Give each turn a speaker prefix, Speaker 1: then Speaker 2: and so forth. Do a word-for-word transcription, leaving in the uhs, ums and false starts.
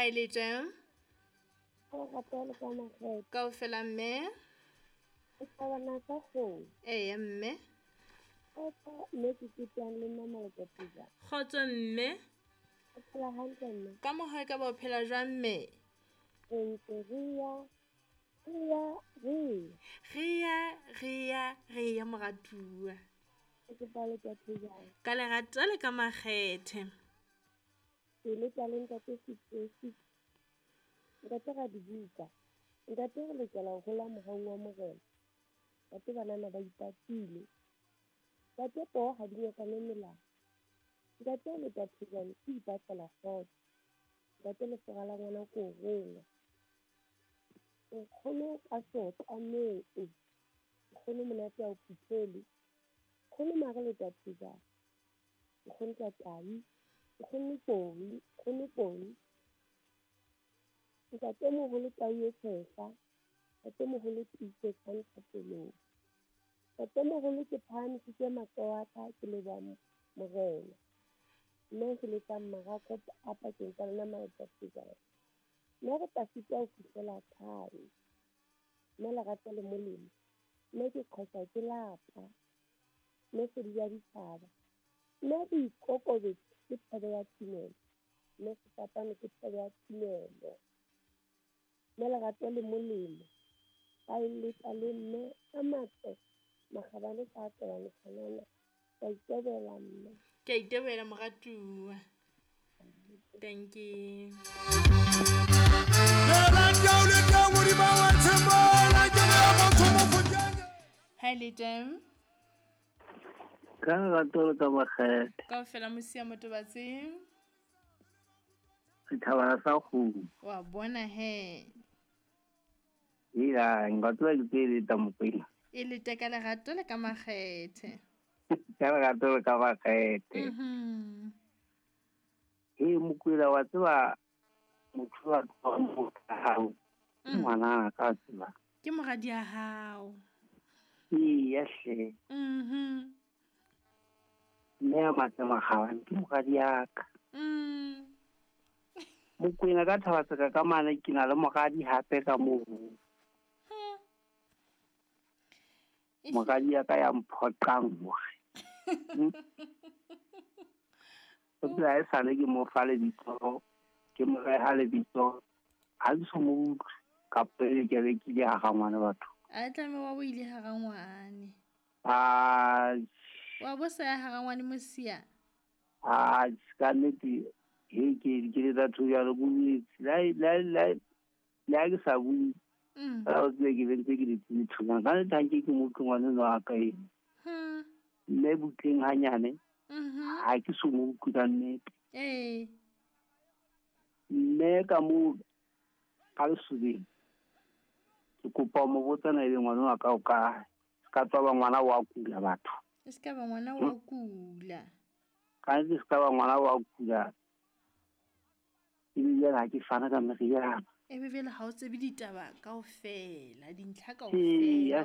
Speaker 1: Ha e le teng?
Speaker 2: Ka lerato le ka makgethe.
Speaker 1: Kaofela mme?
Speaker 2: Setjhabana sa kgomo.
Speaker 1: Eya mme.
Speaker 2: Kgotso mme ke ketang le nna Malekaputla.
Speaker 1: Kgotso mme.
Speaker 2: O phela hantle mme?
Speaker 1: Ka mokgwa e ka ba o phela jwang mme?
Speaker 2: Re ntse re ya, re ya, re ya.
Speaker 1: Re ya, re ya, re ya moratuwa.
Speaker 2: Ke kopa Letathejana.
Speaker 1: Ka lerato le ka makgethe.
Speaker 2: Ke leta le ntate Setosi. Ntate Radibuka. Ntate re lokela ho hola mohaung wa Morena. Ntate banana ba ipatile. Ntate poho ha di nyakane melala. Ntate Letathejane ke ipatlela kgotso. Ntate lefura la ngwana ke o rongwa. Nkgono ka sotlameng. Nkgono monate ha o phuthele. Nkgono mare Letathejane. Nkgono Tatai. Nkgono Poi. Nkgono Poi. Ntatemoholo tau e tshehla. Ntatemoholo tiisetsa nthapelong. Ntatemoholo ke phahamisitse matsoho a ka ke leboha Morena. Mme ke letsang marako a pakeng tsa lona Maletathejane. Mme re tla sitwa ho fihlela kae? Mme lerato le molemo. Mme ke qhoswa ke lapa. Mme sedi ya ditjhaba. Mme boikokobetso ke thebe ya tumelo. Mme sefapano ke thebe ya tumelo. Mme lerato le molemo. Ba eletsa le mme a matle. Makgabane sa tobane tshwanana. Ka itebela mme.
Speaker 1: Ke a itebela moratuwa. Thank you. Ha le teng?
Speaker 3: Ka lerato le ka makgethe.
Speaker 1: Kaofela mosia motobatsi.
Speaker 3: Setjhabana sa kgomo.
Speaker 1: Wa bona he.
Speaker 3: Ila nka tseba ke tse leta Mokwena.
Speaker 1: E lete ka lerato le ka makgethe.
Speaker 3: Ka lerato le ka makgethe.
Speaker 1: Mhm.
Speaker 3: He Mokwena wa tseba motho wa hao. Ngwana ka tseba.
Speaker 1: Ke moradi ya hao.
Speaker 3: Ee, hle.
Speaker 1: Mhm.
Speaker 3: Mme a matle makgabane ke moradi ya ka.
Speaker 1: Mm.
Speaker 3: Mokwena ka Thabatseka ka mane ke na le moradi hape ka moo. Moradi ya ka ya mphoqang hore. O tseba e sale ke mo fa lebitso, ke mo reha lebitso. Ha ke so mo utlwe kapa e ke be ke ile ha rangwane batho.
Speaker 1: A tlameha wa bo ile ha rangwane.
Speaker 3: Ah,
Speaker 1: wa bo sa ya ha rangwane mosia.
Speaker 3: Ah, ka nnete he ke ke le batho jalo go itse la la la la ke sa bue.
Speaker 1: Mm.
Speaker 3: Ka o tsebe ke bentse ke le thuna ka nnete ha nke ke mo utlwe ngwana enwa wa ka eno.
Speaker 1: Hmm.
Speaker 3: Mme butleng hanyane.
Speaker 1: Mhm.
Speaker 3: Ha ke so mo utlwe ka nnete.
Speaker 1: Eh.
Speaker 3: Mme ka mo ka lesobeng. Ke kopa mo botsa na ebe ngwana wa ka o kae. Se ka tswa ba ngwana wa kula batho.
Speaker 1: Se ka ba ngwana wa kula.
Speaker 3: Ka nnete se ka ba ngwana wa kula. Ebile ha ke fana ka meriana.
Speaker 1: Ebe jwale ha o tsebe ditaba kaofela, dintlha
Speaker 3: Ee,
Speaker 1: kaofela.